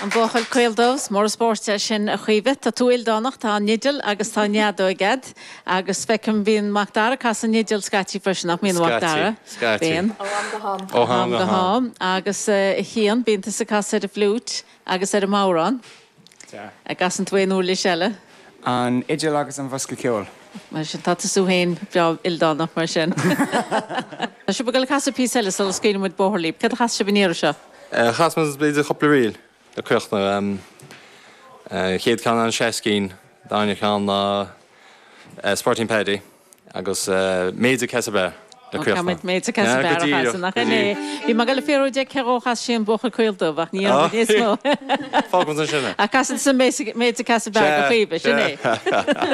An Buachaill Caol Dubh, is mór an spórt é sin a Chaoimhe. Tá tú ildánach, tá an fhidil agus tá an fheadóig a'd agus feicim bíonn Mac Dara ag casadh an fhidil scaití freisin, nach mbíonn a Mhac Dara? Scaití, scaití. Bíonn. Ó am go ham. Ó am go ham. Agus a Chian, bíonn tusa ag casadh ar an bhfliúit agus ar an mbodhrán. Sea. An gcasann tú aon uirlis eile? An fhidil agus an bosca ceoil. Mar sin, tá tusa féin breá ildánach mar sin. Tá sibh ag dul ag casadh píosa eile sula scaoileann muid bóthar libh. Céard a chas sibh an iarraidh seo? Chas muid b'fhéidir cúpla ríl le críochnú. Chéad ceann ná an Seascín, darna ceann ná Spuirtín Paddy agus Maids of Castlebar le Ó, críochnú. caithfidh muid Maids of Castlebar a chasadh, nach in é? Bhí mé ag dul ag fiafraí de cé dhó a chas sí an Buachaill Caol Dubh ach ní dhéanfaidh muid níos mó. Fágfaidh muid ansin é. Ach casann tusa Maids of Castlebar do Chaoimhe, sin é.